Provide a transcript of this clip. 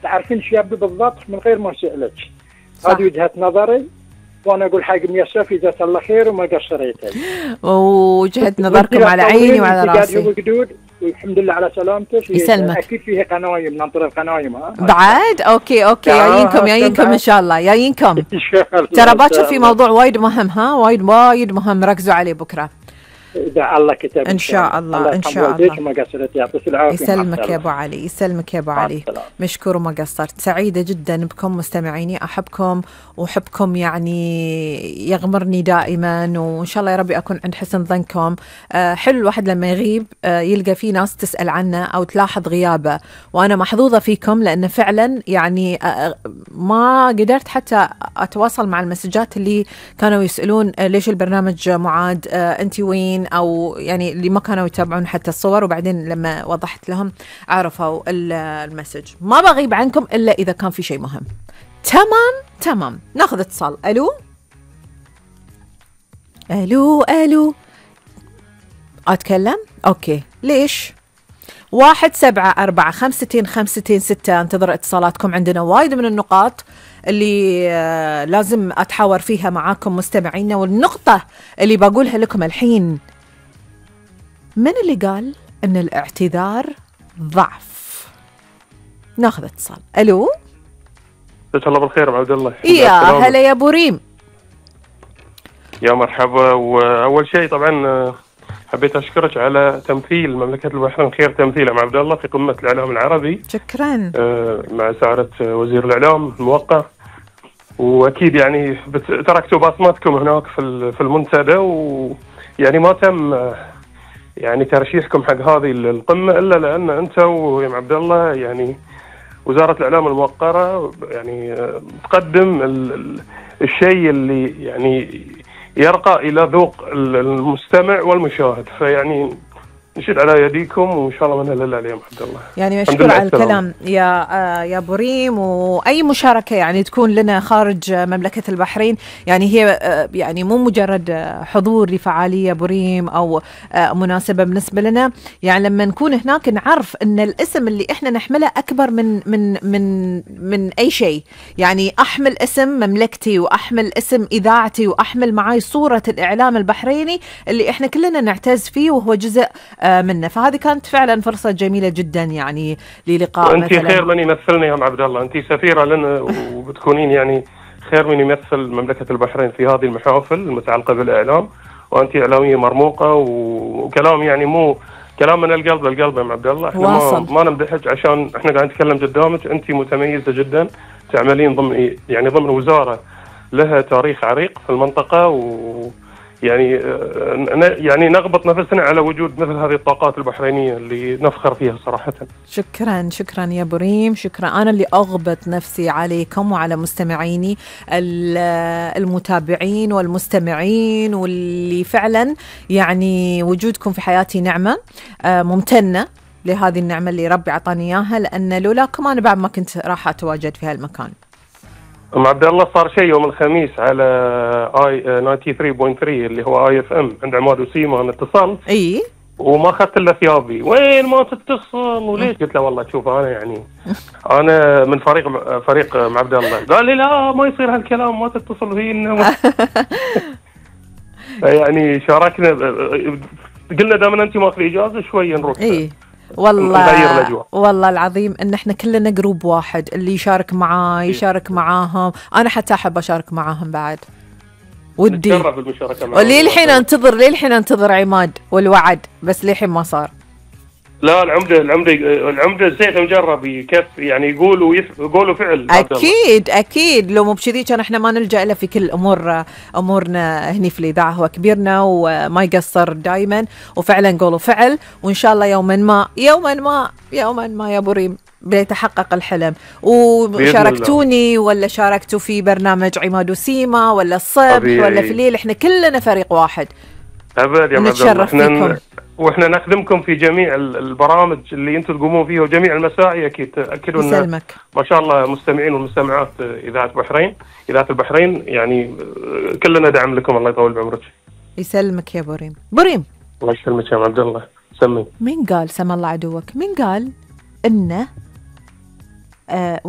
تعرفين ايش يبدو بالضبط من غير ما اسالك. هذه وجهة نظري، وانا اقول حق ميسر جزاك الله خير وما قصريتي. وجهة نظركم على عيني وعلى راسي. والحمد لله على سلامتك. يسلمك. اكيد فيها قنايم، ننطر القنايم. بعد اوكي جايينكم ان شاء الله، جايينكم ترى باكر في موضوع وايد مهم، وايد مهم، ركزوا عليه بكره إذا الله كتب إن شاء الله. إن شاء الله. ما قصرت، يعطيك العافية. يسلمك يا أبو علي، يسلمك يا أبو علي، مشكور وما قصرت. سعيدة جدا بكم مستمعيني، أحبكم وحبكم يعني يغمرني دائما، وإن شاء الله يا ربي أكون عند حسن ظنكم. حلو الواحد لما يغيب يلقى في ناس تسأل عنه أو تلاحظ غيابه، وأنا محظوظة فيكم لأن فعلا يعني ما قدرت حتى أتواصل مع المسجات اللي كانوا يسألون ليش البرنامج معاد، أنت وين، أو يعني اللي ما كانوا يتابعون حتى الصور، وبعدين لما وضحت لهم عرفوا المسج. ما بغيب عنكم إلا إذا كان في شيء مهم. تمام. ناخذ اتصال. ألو أتكلم؟ أوكي. ليش؟ 17452526. انتظر اتصالاتكم، عندنا وايد من النقاط اللي لازم أتحاور فيها معاكم مستمعينا. والنقطة اللي بقولها لكم الحين، من اللي قال أن الاعتذار ضعف؟ ناخذ اتصال. ألو. جزاك الله بالخير أبو عبد الله. يا هلا يا أبو ريم. يا مرحبا. وأول شيء طبعا حبيت أشكرك على تمثيل مملكة البحرين خير تمثيل يا عبد الله في قمة الإعلام العربي. شكرا. مع سعادة وزير الإعلام الموقع، وأكيد يعني تركتوا بصمتكم هناك في المنتدى، ويعني ما تم يعني ترشيحكم حق هذه القمة إلا لأن أنت ويا عبد الله يعني وزارة الإعلام الموقرة يعني تقدم الشيء اللي يعني يرقى إلى ذوق المستمع والمشاهد، فيعني نشد على يديكم وإن شاء الله منها لله عليهم عبد الله. يعني مشكور على الكلام يا أبو ريم، وأي مشاركة يعني تكون لنا خارج مملكة البحرين يعني هي يعني مو مجرد حضور لفعالية أبو ريم أو مناسبة بالنسبة لنا، يعني لما نكون هناك نعرف أن الاسم اللي إحنا نحمله أكبر من أي شيء. يعني أحمل اسم مملكتي وأحمل اسم إذاعتي وأحمل معاي صورة الإعلام البحريني اللي إحنا كلنا نعتز فيه وهو جزء منه. فهذه كانت فعلا فرصة جميلة جدا يعني للقاء. أنت خير من يمثلني يا عبد الله، أنت سفيرة لنا وبتكونين يعني خير من يمثل مملكة البحرين في هذه المحافل المتعلقة بالإعلام، وأنت إعلامية مرموقة وكلام يعني مو كلام من القلب للقلب يا عبد الله. احنا ما نمدحك عشان احنا قاعد نتكلم قدامك، أنت متميزة جدا، تعملين ضمن وزارة لها تاريخ عريق في المنطقة، يعني نغبط نفسنا على وجود مثل هذه الطاقات البحرينية اللي نفخر فيها صراحة. شكرا يا أبو ريم، شكرا. أنا اللي أغبط نفسي عليكم وعلى مستمعيني المتابعين والمستمعين، واللي فعلا يعني وجودكم في حياتي نعمة، ممتنة لهذه النعمة اللي ربي عطاني إياها، لأن لولاكم أنا بعد ما كنت راح أتواجد في هالمكان. عبد الله صار شيء يوم الخميس على اي 93.3 اللي هو اي اف ام عند عماد وسيما، انا اتصلت وما اخذت الا ثيابي، وين ما تتصل وليش؟ قلت له والله شوف انا يعني انا من فريق عبد الله. قال لي لا ما يصير هالكلام، ما تتصل فينا. يعني شاركنا، قلنا دائما انت ماخذ اجازه شويه نروح والله العظيم ان احنا كلنا جروب واحد، اللي يشارك معاه يشارك معاهم، انا حتى احب اشارك معاهم بعد ودي. وليه الحين انتظر عماد والوعد، بس ليه الحين ما صار. لا العمده زيت مجرب كيف يعني يقول وفعل. اكيد لو مو بشذي كان احنا ما نلجأ له في كل امورنا هني في الاذاعه. هو كبيرنا وما يقصر دائما، وفعلا قول وفعل، وان شاء الله يوما ما يا ابو ريم بيتحقق الحلم. وشاركتوني ولا شاركتوا في برنامج عماد وسيما ولا الصبح ولا في الليل، احنا كلنا فريق واحد. ابد يا نتشرف فيكم، واحنا نخدمكم في جميع البرامج اللي انتم تقومون فيها وجميع المسائي. اكيد تاكدوا ان ما شاء الله مستمعين والمستمعات اذاعه البحرين يعني كلنا دعم لكم. الله يطول بعمرك. يسلمك يا بريم. الله يسلمك يا عبد الله. سمي. مين قال سم الله عدوك؟ مين قال انه